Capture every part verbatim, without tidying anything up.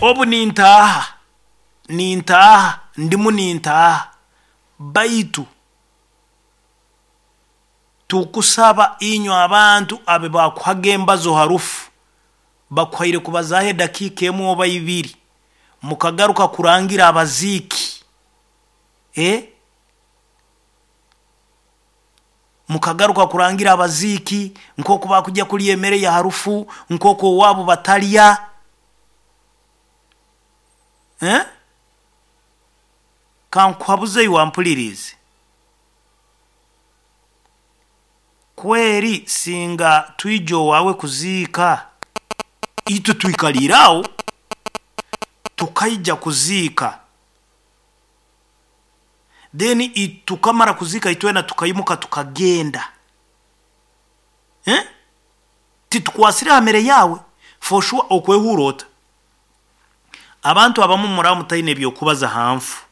Obu nintaaha nintaaha ndimu nintaaha, baitu tukusaba inywe abantu abe bakuhaga embazo harufu, bakuhaire kubazaaho edakiika emu oba ibiri, mukagaruka kurangira abaziiki, eh? Mukagaruka kurangira abaziiki nk'oku bakujya kulya emere ya harufu, nk'oku owaabo batalya, eh? Kankuhabuze iwe wampuliriize kweri, singa twija owaawe kuziika, itwe twikaliire aho tukaija kuziika, then tukamara kuziika itwena tukaimuka tukagenda, eh? Titukwasire ha mere yaawe, for sure okwehuura ota? Abantu abamu muraba mutaine ebyokubaza ha nfu,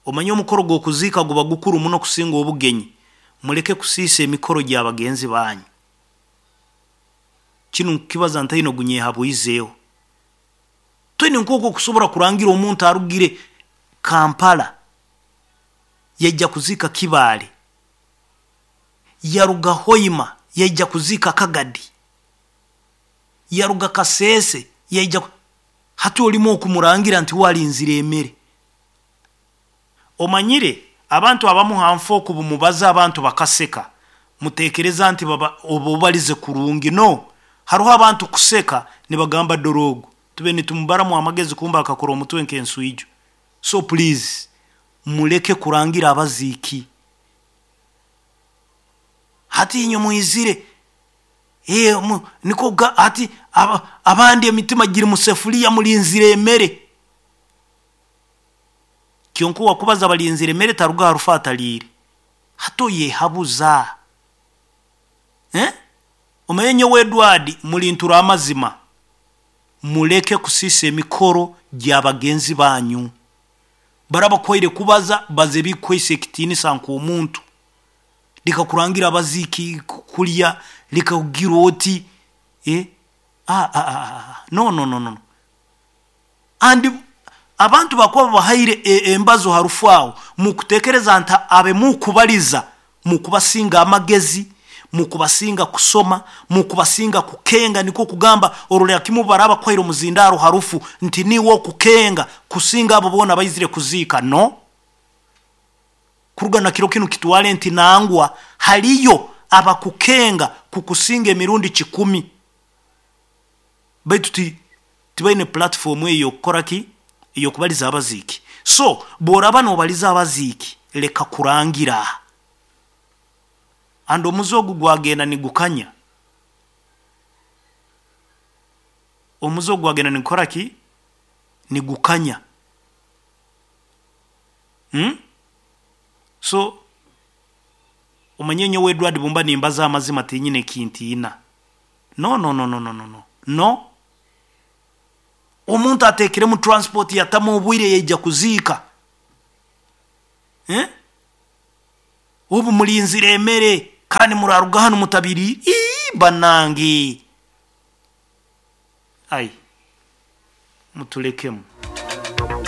omanye omukoro gw'okuziika guba gukuru muno kusinga obugenyi. Muleke kusiisa emikoro gy'abagenzi banyu. Kinu nkukibaza ntaine ogunyehabwizeeho. Toine nk'oku okusobora kurangira omuntu arugire Kampala yaija kuziika Kibaale, yaruga Hoima yaija kuziika Kagadi, yaruga Kasese yaija, hati olimu okumurangira nti we alinzire emere. Omanyire abantu abamu ha nfu oku bumubaza abantu bakaseka, muteekereza nti baba oba obalize kurungi. No, haroho abantu kuseka nibagamba dorogo, tube nitumubaramu amagezi, kumbe akakora omutwe nk'enswijo. So please muleke kurangira abaziiki. Hati inywe mwizire, e, mu, niko hati aba, abandi emitima giri mu sefuliya, mulinzire emere. Kyonka wakubaza balinzire emere taruga harufu ataliire, hati oyehabuza, eh? Omanye nyowe Edward mulintura amazima, muleke kusiisa emikoro gy'abagenzi banyu. Baraba kuhaire kubaza, baza ebikuhaisa ekitiinisa nk'omuntu. Leka kurangira abaziiki kulya, leka kugira oti, eh? ah, ah, ah, no no no no. Andi abantu bakuba babahaire embazo harufu aho, mukutekereza nti abe mukubaliza, mukubasinga amagezi, mukubasinga kusoma, mukubasinga kukenga. Niko kugamba orolera kimu baraba kwaire omuzindaro harufu nti niwe okukenga kusinga abo boona baizire kuziika. No, kuruga na kiro kinu kitwale nti nangwa haliyo abakukenga kukusinga emirundi kikumi, baitu ti tibaine platform eyo okukora ki, ey'okubaliza abaziiki. So bw'oraba noobaliza abaziiki, leka kurangira. Andi omuze ogu gwagenda nigukanya, omuze ogu gwagenda nigukora ki, nigukanya, hmm? So omanye nyowe Edward bumba nimbaza amazima, tinyine ekintiina. No no no no no no no. Omuntu ateekiremu transport, yatamu obwire, yaija kuziika, eh? Obu mulinzire emere kandi muraruga hanu mutabiri, ii banange, ai mutulekemu.